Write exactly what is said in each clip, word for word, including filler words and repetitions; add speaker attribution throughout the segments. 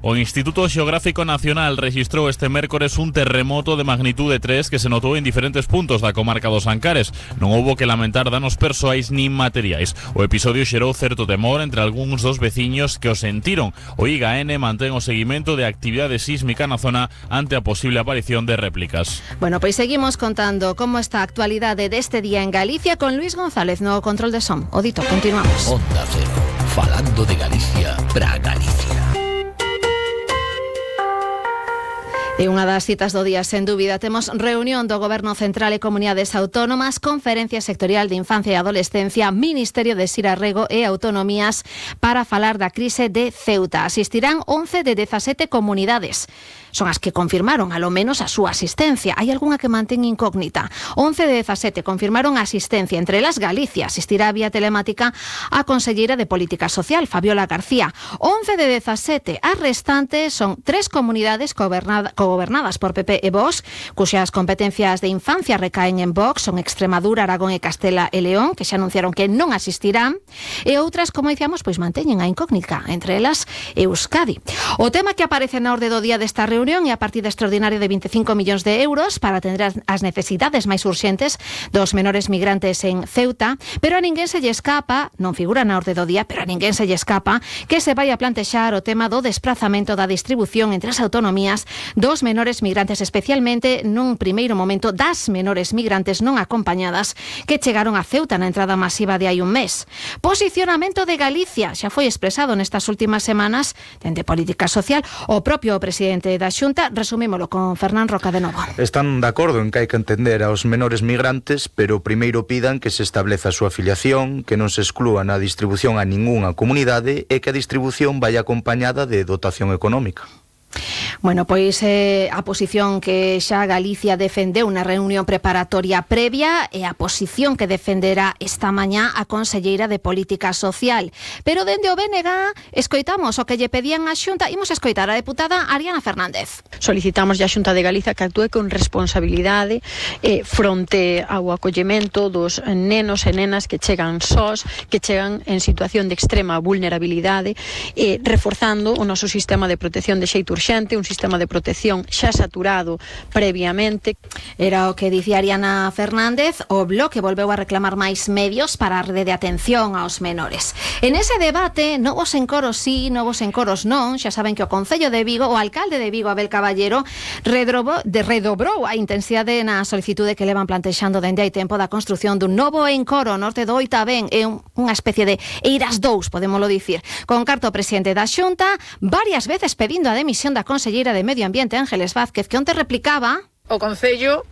Speaker 1: O Instituto Xeográfico Nacional registrou este mércores un terremoto de magnitude tres que se notou en diferentes puntos da comarca dos Ancares. Non houbo que lamentar danos persoais nin materiais. O episodio xerou certo temor entre algúns dos veciños que o sentiron. O I G A N mantén o seguimento de actividade sísmica na zona ante a posible aparición de réplicas.
Speaker 2: Bueno, pois seguimos contando como está a actualidade deste día en Galicia con Luis González no control de som. O dito, continuamos.
Speaker 3: Onda Cero, falando de Galicia para Galicia.
Speaker 2: E unha das citas do día, sen dúbida, temos reunión do Goberno Central e Comunidades Autónomas, Conferencia Sectorial de Infancia e Adolescencia, Ministerio de Xirarrego e Autonomías para falar da crise de Ceuta. Asistirán once de dezasete comunidades. Son as que confirmaron, alo menos, a súa asistencia. Hai algunha que mantén incógnita. once de dezasete confirmaron a asistencia. Entre elas, Galicia asistirá vía telemática a conselleira de Política Social, Fabiola García. once de dezasete. As restantes son tres comunidades gobernadas gobernadas por P P e Vox, cuxas competencias de infancia recaen en Vox, son Extremadura, Aragón e Castela e León, que xa anunciaron que non asistirán, e outras, como dicíamos, pois manteñen a incógnita, entre elas Euskadi. O tema que aparece na orde do día desta reunión é a partida extraordinaria de veinticinco millóns de euros para atender as necesidades máis urxentes dos menores migrantes en Ceuta, pero a ninguén se lle escapa, non figura na orde do día, pero a ninguén se lle escapa que se vai a plantexar o tema do desprazamento da distribución entre as autonomías dos menores migrantes, especialmente nun primeiro momento das menores migrantes non acompañadas que chegaron a Ceuta na entrada masiva de hai un mes. Posicionamento de Galicia xa foi expresado nestas últimas semanas dende Política Social. O propio presidente da Xunta, resumímolo con Fernán Roca de novo.
Speaker 4: Están de acordo en que hai que entender aos menores migrantes, pero primeiro pidan que se estableza a súa afiliación, que non se exclúa na distribución a ningunha comunidade e que a distribución vai acompañada de dotación económica.
Speaker 2: Bueno, pois eh, a posición que xa Galicia defendeu na reunión preparatoria previa e a posición que defenderá esta mañá a conselleira de Política Social. Pero dende o B N G escoitamos o que lle pedían á Xunta. Imos escoitar a deputada Ariana Fernández.
Speaker 5: Solicitamos á Xunta de Galicia que actúe con responsabilidade eh, fronte ao acollemento dos nenos e nenas que chegan sós, que chegan en situación de extrema vulnerabilidade, eh, reforzando o noso sistema de protección de xeito urxente, un sistema de protección xa saturado previamente.
Speaker 2: Era o que dicía Ariana Fernández. O Bloque volveu a reclamar máis medios para a rede de atención aos menores. En ese debate, novos encoros sí, novos encoros non. Xa saben que o Concello de Vigo, o alcalde de Vigo, Abel Caballero, redrobo, de, redobrou a intensidade na solicitude que levan plantexando dende hai tempo da construción dun novo encoro norte do Oitavén. É un, unha especie de Eiras dous, podémolo dicir. Con carta o presidente da Xunta, varias veces pedindo a demisión da conselleira de Medio Ambiente, Ángeles Vázquez, que onte replicaba:
Speaker 6: o Concello,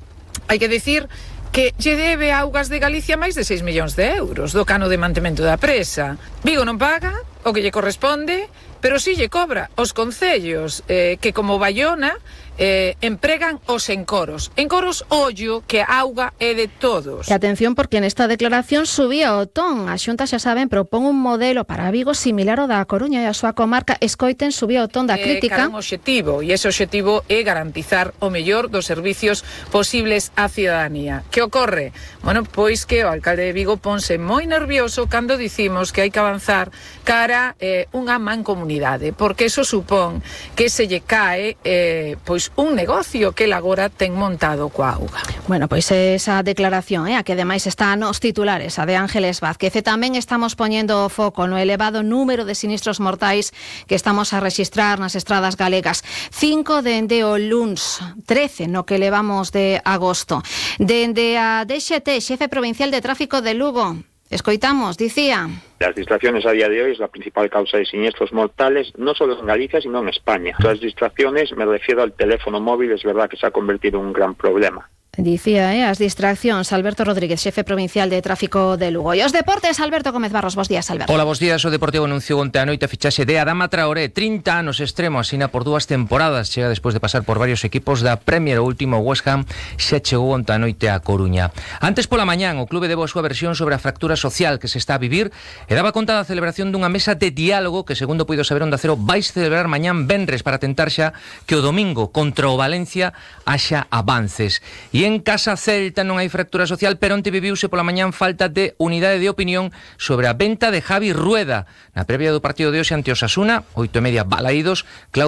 Speaker 6: hai que dicir que lle debe a Augas de Galicia máis de seis millóns de euros do cano de mantemento da presa. Vigo non paga o que lle corresponde, pero si lle cobra os concellos eh, que, como Baiona, eh, empregan os encoros. Encoros, ollo, que a auga é de todos.
Speaker 2: E atención, porque nesta declaración subía o ton. A Xunta, xa saben, propón un modelo para Vigo similar ao da Coruña e a súa comarca. Escoiten, subía o ton da crítica.
Speaker 6: É eh, un obxectivo, e ese obxectivo é garantizar o mellor dos servicios posibles á ciudadanía. Que ocorre? Bueno, pois que o alcalde de Vigo ponse moi nervioso cando dicimos que hai que avanzar cara eh, unha mancomunidade, porque eso supón que se lle cae eh, pois un negocio que el agora ten montado coa auga.
Speaker 2: Bueno, pois esa declaración, eh, a que ademais está nos titulares, a de Ángeles Vázquez. E tamén estamos poñendo o foco no elevado número de sinistros mortais que estamos a rexistrar nas estradas galegas. Cinco dende o luns, trece no que levamos de agosto. Dende a D X T, xefe provincial de tráfico de Lugo, escoitamos, dicía:
Speaker 7: las distracciones a día de hoy es la principal causa de siniestros mortales, no solo en Galicia, sino en España. Las distracciones, me refiero al teléfono móvil, es verdad que se ha convertido en un gran problema.
Speaker 2: Dicía, eh, as distraccións. Alberto Rodríguez, xefe provincial de tráfico de Lugo. E os deportes, Alberto Gómez Barros. Bos días, Alberto.
Speaker 8: Hola, bos días. O Deportivo anunciou onte a noite a fichaxe de Adama Traoré, trinta anos extremo, asina por dúas temporadas. Chega despois de pasar por varios equipos da Premier. O último, West Ham, xa chegou onte a noite a Coruña. Antes pola mañán, o clube debo a súa versión sobre a fractura social que se está a vivir e daba conta da celebración dunha mesa de diálogo que, segundo puido saber Onda Cero, vais celebrar mañán venres para tentar xa que o domingo contra o Valencia haxa avances. E en Casa Celta non hai fractura social, pero onte viviuse pola mañán falta de unidade de opinión sobre a venta de Javi Rueda. Na previa do partido de hoxe ante Osasuna, oito e media balaídos, Claudio